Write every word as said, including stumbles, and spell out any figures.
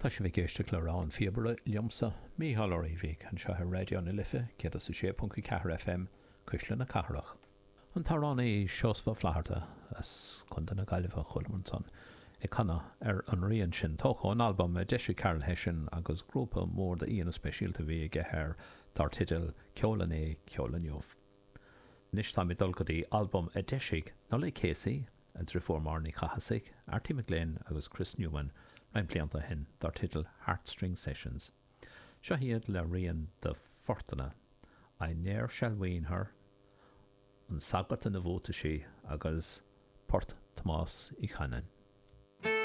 Tá sibh ag éisteacht le Rogha an Phíobaire liomsa, Mícheál Ó Riabhaigh, anseo ar Raidió na Life céad is a sé ponc a ceathair FM, Cuisle na Cathrach. An t-amhránaí Seosamh Ó Flatharta, as Contae na Gaillimhe a chualamar ansan, ag canadh ar an rian sin, tógtha ón albam a d'eisigh Carol Hession agus grúpa mór d'aíonna speisialta a bhí aige air dar teideal Ceol Inné, Ceol Inniu. Anois táimid ag dul go dtí albam a d'eisigh Nollaig Casey, a driofúr Máire Ní Chathasaigh, Arty McGlynn agus Chris Newman roinnt blianta ó shin dar teideal Heartstring Sessions. Seo iad le rian de phortanna, I Ne'er Shall Wean Her, An Sagart ina Bhuataisí agus Port Thomáis Uí Chanainn.